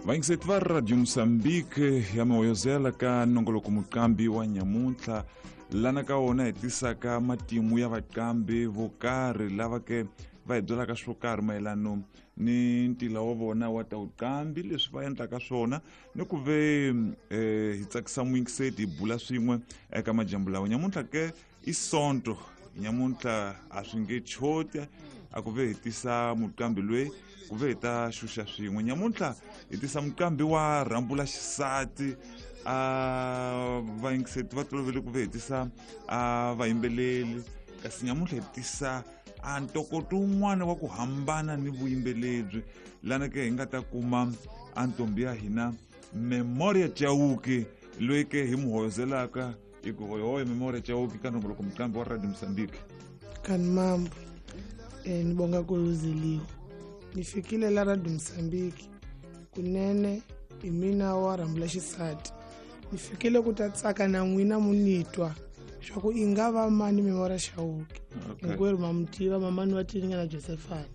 Vayingiseti va Radio Mozambique ya mihoyozela ka nongoloko muqambi wa nyamuntlha, lana ka wona hi tisaka matimu ya vaqambi vo karhi lava ke va hi byelaka swo karhi mayelano ni ntila wa vona wa ta vuqambi, leswi va endlaka swona, ni ku ve hi tsakisa muyingiseti, hi bula swin'we eka majambu lawa. Nyamuntlha ke i Sonto, nyamuntlha a swi nge choti a ku ve hi tisa muqambi loyi ku ve hi ta xuxa swin'we. Nyamuntlha hi tisa muqambi wa rhambula xisati. A vayingiseti va tolovele ku ve hi tisa a vayimbeleli, kasi nyamuntlha hi tisa a ntokoto wun'wana wa ku hambana ni vuyimbeleri, lana ke hi nga ta kuma a ntombi ya hina Memoria Chauke, loyi ke hi mu hoyozelaka hi ku hoyohoyo. Memoria Chauke ka nongoloko muqambi wa Radio Mozambique. Kani mambo, nibonga kuluzeliwe nifikile la Radio Mozambique. Kunene hi mina wa rhambula xisati, ni fikile ku ta tsaka na n'wina, munitwa swa ku i nga va mani Memoria Chauke. Hinkwerhu ma mu tiva mamani wa tininga na Josephine.